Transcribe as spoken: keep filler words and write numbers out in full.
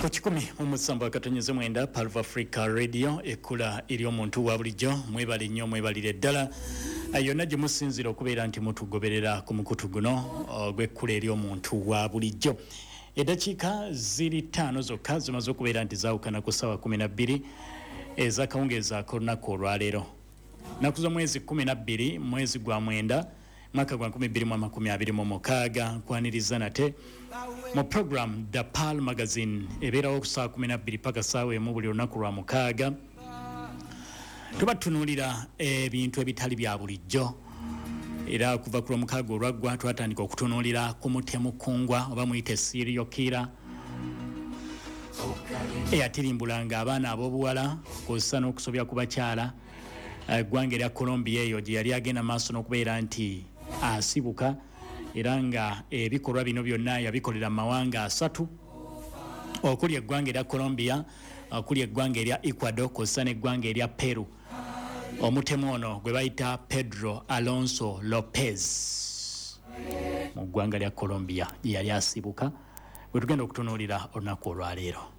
Ku kikumi mu musanvu akatonyeze mwenda, Pearl of Africa Radio, ekkula eri omuntu wa bulijjo. Mwebale nnyo, mwebalire ddala yonna gye musinzira okubeera nti mutugoberera ku mukutu guno ogw'ekkula eri omuntu wa bulijjo. Eddakiika ziri ttaano zokka zimaze okubeera nti zaawukana ku ssaawa kumi na bbiri ez'akawungeezi ak'olunaku olwaleero, nnaku z'omwezi kumi na bbiri, mwezi gwa mwenda, mwaka gwa nkumi bbiri mu amakumi abiri mu mukaaga. Nkwaniriza nate mu program The Pearl Magazine, ebeerawo ku ssaawa kumi na bbiri paka ssaawa emu buli lunaku lwa mukaaga. Tuba tutunuulira ebintu ebitali bya bulijjo, era kuva ku lwomukaaga olwaggwa twatandika okutunuulira ku mutemu kungwa oba muyite serial killer eyatirimbulanga abaana ab'obuwala kw'ossa n'okusobya ku bakyala. Eggwanga erya Colombia eyo gye yali agenda maaso n'okubeera nti asibuka, era nga ebikolwa bino byonna yabikolera mu mawanga asatu, okuli eggwanga erya Colombia, okuli eggwanga erya Ecuador kw'ossa n'eggwanga erya Peru. Omutemu ono gwe bayita Pedro Alonso Lopez, mu ggwanga lya Colombia gye yali asibuka, bwe tugenda okutunuulira olunaku olwaleero.